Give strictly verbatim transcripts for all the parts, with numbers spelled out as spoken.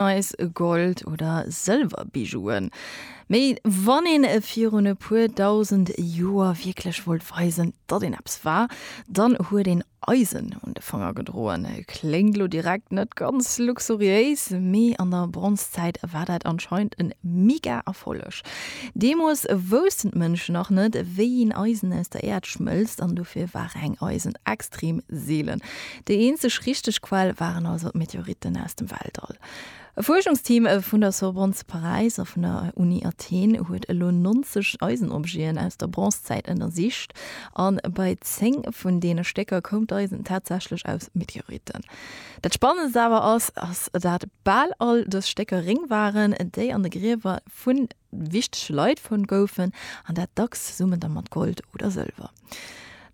Eis Gold oder Sëlwer-Bijouen. Mee wann een virun e puer dausend Joer wierklech wollt weisen, datt een eppes war, dann huet een Eisen un de Fanger gedroen. Kléngt lo direkt net ganz luxuriéis, mee an der Bronzezäit war dat anscheinend en mega Erfolleg. Deemools woussten d'Mënschen nach net, wéi een Eisen aus der Äerd schmëlzt an dofir war reng Eisen extrem seelen. Déi eenzeg richteg Quell waren also d'Meteoritten aus dem Weltall. E Fuerschungsteam vun der Sorbonne zu Paräis a vun der Uni Athen huet elo neunzeg Eisenobjeten aus der Bronzezäit ënnersicht a bei zéng vun deene Stécker koum d'Eisen tatsächlech aus Meteoritten. Dat Spannendst awer ass, ass dat bal all dës Stécker Réng waren, déi an de Griewer vu wichtege Leit fonnt goufen, an dat dacks zesummen da mat Gold oder Sëlwer.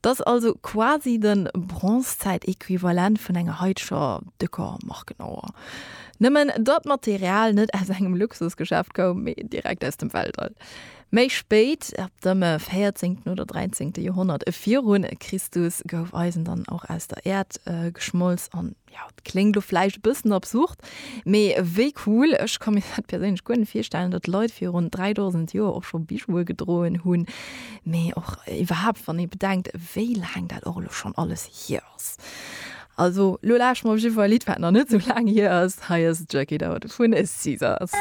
Dat ass also quasi de Bronzezäit-Equivalent vun enger haiteger décker Markenauer. Nëmmen datt d'Material net aus engem Luxusgeschäft koum, mee direkt aus dem Weltall. Méi spéit, ab dem véierzéngten oder dräizéngte Joerhonnert viru Christus, gouf Eisen dann och aus der Äerd geschmolz an jo, et kléngt lo vläicht e bëssen absurd, mee wéi cool, ech ka mir dat perséinlech guer net virstellen, datt Leit virun dräidausend Joer och scho Bijoue gedroen hunn, mee och iwwerhaapt wann ee bedenkt, wéi laang dat och elo schonn alles hier ass. Also lo lauschteren mer op jidde Fall e Lidd, wat nach net esou laang hier ass. Hei ass Jerk It Out vun Caesars.